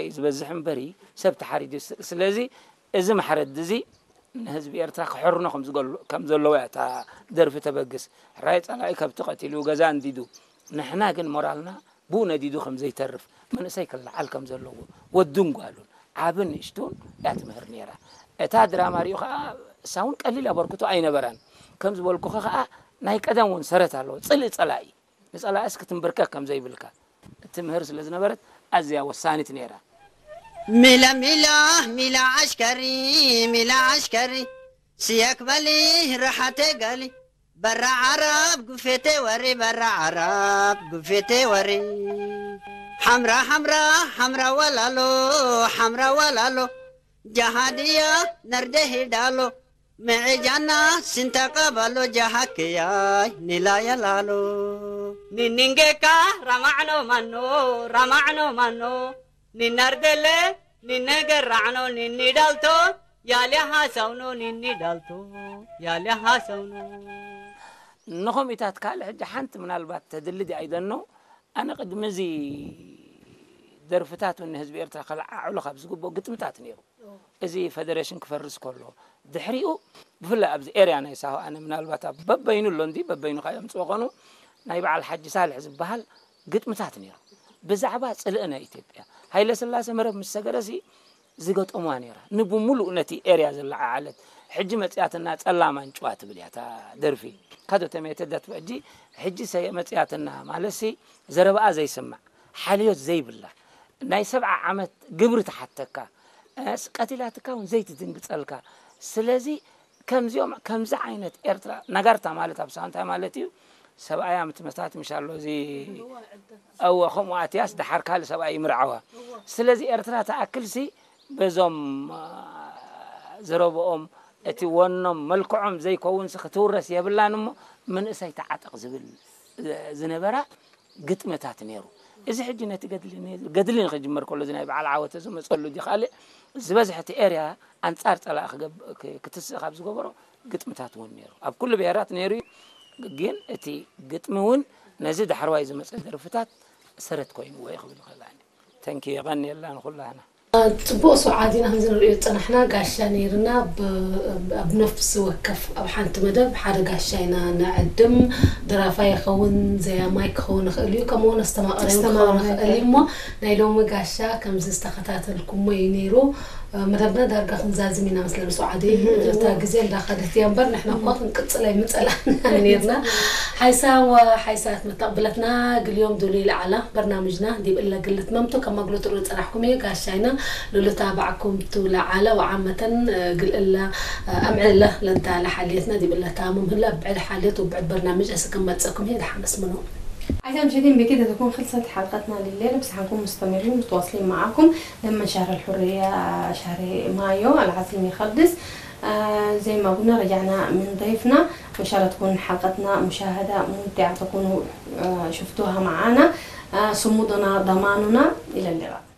እዩ ዝበዝሕ እምበሪ ሰብ ተሓሪዱ። ስ-፣ ስለዚ እዚ ማሕረዲ እዚ ንህዝቢ ኤርትራ ክሕርኖ ከም ዝገሉ-፣ ከም ዘለዎ እያ እታ ደርፊ ተበግስ። ሕራይ ጸላኢ ከብቲ ቀቲሉ፣ ገዛ እንዲዱ፣ ንሕና ግን ሞራልና ብኡ ነዲዱ ከም ዘይተርፍ፣ መንእሰይ ክለዓል ከም ዘለዎ፣ ወዱን ጓሉን፣ ዓብን ንእሽቱን እያ ትምህር ነይራ። እታ ድራማ ሪኡ ኸኣ፣ እሳ እውን ቀሊል ኣበርክቶ ኣይነበራን። ከም ዝበልኩኺ ኸኣ፣ ናይ ቀደም እውን ሰረት ኣለዎ። ጽልኢ ጸላኢ፣ ንጸላእስ ክትንበርከክ ከም ዘይብልካ እትምህር ስለ ዝነበረት፣ ኣዝያ ወሳኒት ነይራ። ሚላ ሚላ ሚላ ዓሽከሪ፣ ሚላ ዓሽከሪ፣ ስየክ በሊ ራሓተ ገሊ፣ በራ ዓረብ ጉፌቴ ወሪ፣ በራ ዓረብ ጉፌቴ ወሪ። ሓምራ ሓምራ ሓምራ ወላሎ፣ ሓምራ ወላሎ፣ ጃሃድያ ነርደ ሂዳሎ፣ መዔጃና ስንተቀባሎ፣ ጃሃክያይ ኒላ የላሎ። ኒኒንጌካ ራማዕኖ ማኖ፣ ራማዕኖ ማኖ፣ ኒናርደለ፣ ኒነገራዕኖ፣ ኒኒዳልቶ፣ ያሊያ ሃሰውኖ፣ ኒኒዳልቶ፣ ያሊያ ሃሰውኖ። ንኸምኡታት ካልእ ሕጂ ሓንቲ ምናልባት ተድሊ ድያ ኣይደኖ፣ ኣነ ቅድሚ እዚ ደርፍታት እውን ንህዝቢ ኤርትራ ከለዓዕሎ ካብ ዝግብኦ ግጥምታት ነይሩ። እዚ ፈደረሽን ክፈርስ ከሎ፣ ድሕሪኡ ብፍላይ ኣብዚ ኤርያ ናይ ሳሆ ኣነ ምናልባት ኣብ በበይኑ ኣሎ እንዲ በበይኑ ካብ የምጽኦ ኾኑ ናይ በዓል ሓጂ ሳልሕ ዝበሃል ግጥምታት ነይሩ። ብዛዕባ ጽልኢ ናይ ኢትዮጵያ፣ ሃይለ ስላሴ መረብ ምስ ሰገረሲ ዝገጠሙዋ ነይራ። ንብሙሉእ ነቲ ኤርያ ዘለዓዓለት፣ ሕጂ መጽያትና ጸላም ኣንጭዋ ትብል እያ እታ ደርፊ። ካዶ ተመየተ ዳትብ ሕጂ፣ ሕጂ ሰ-፣ መጽያትና ማለትሲ ዘረባኣ ዘይስማዕ፣ ሓልዮት ዘይብላ፣ ናይ ሰብዓ ዓመት ግብሪ ትሓተካ፣ እ፣ ስ-፣ ቀቲላትካ እውን ዘይትድንግጸልካ። ስለዚ ከምዚኦም፣ ከምዚ ዓይነት ኤርትራ፣ ነጋርታ ማለት ኣብ ሳዋ እንታይ ማለት እዩ? ሰብኣያ ምትመታት ምሽ ኣሎ፣ እዚ፣ እወ፣ ከምኡ ኣትያስ ደሓር ካልእ ሰብኣይ ይምርዓዋ። ስለዚ ኤርትራ ትኣክልሲ በዞም፣ አ፣ ዘረብኦም፣ እቲ ወኖም፣ መልክዖም ዘይከውንሲ ክትውረስ የብላን እሞ፣ መንእሰይ ተዓጠቕ ዝብል፣ እ፣ ዝነበራ ግጥምታት ነይሩ። እዚ ሕጂ ነቲ ገድሊ ነ-፣ ገድሊ ንኽጅመር ከሎ፣ እዚ ናይ በዓል ዓወተ ዝመጸሉ ድዩ ካልእ፣ ዝበዝሐ እቲ ኤርያ ኣንጻር ጸላኢ ክገብ-፣ ክ-፣ ክትስእ ካብ ዝገበሮ ግጥምታት እውን ነይሩ። ኣብ ኩሉ ብሄራት ነይሩ እዩ፣ ግን እቲ ግጥሚ እውን ነዚ ዳሕረዋይ ዝመጸ ደርፍታት ሰረት ኮይንዎ እዩ ክብል ይኽእል ኣነ። ተንኪ፣ የቐንየልና ንኹላህና። ጽቡቕ ስውዓት ኢና ከም ዝንርእዮ ዝጸናሕና፣ ጋሻ ነይርና። ብ-፣ ኣብ ነፍሲ ወከፍ ኣብ ሓንቲ መደብ ሓደ ጋሻ ኢና ነዕድም። ደራፋይ ይኸውን፣ ዘያማይ ክኸውን ይኽእል እዩ፣ ከምኡ እውን ኣስተማቓሪ እውን ክኸውን ኣስተማቓሪ ይኽእል እዩ። እሞ ናይ ሎሚ ጋሻ ከምዚ ዝተኸታተልኩሞ እዩ ነይሩ። መደብና ዳርጋ ክንዛዝም ኢና መስለኒ፣ ስውዓት። እህ፣ እታ እዎ። ግዜ እንዳኸደት እያ እምበር፣ ንሕና እኮ እህ። ክንቅጽል ኣይምጸላእናን ነይርና። ሓይሳ ወሓይሳት መተቕብለትና፣ ግልዮም ዱሉ ይለዓላ። በርናምጅና ዲብ እለ ግልት መምቶ ከማግሎ ትርኢ ጸናሕኩም እየ። ጋሻይና ሉልታ ባዕኩም ቱ ለዓለ ወዓመተን፣ እ፣ ግልእላ፣ እ፣ ኣምዕለ ለንታ ለሓልየትና ዲብ እለ ታሙም ህላ ብዕድ ሓልየት ወብዕድ በርናምጅ እስክመጸኩም እየ። ደሓመስ ምኑ። عايزة مشاهدين بكده تكون خلصت حلقتنا لليلة، بس حنكون مستمرين متواصلين معاكم لما شهر الحرية، شهر مايو العظيم يخلص. آه، زي ما قلنا رجعنا من ضيفنا، وإن شاء الله تكون حلقتنا مشاهدة ممتعة، تكونوا، آه، شفتوها معانا. آه، صمودنا ضماننا. إلى اللقاء.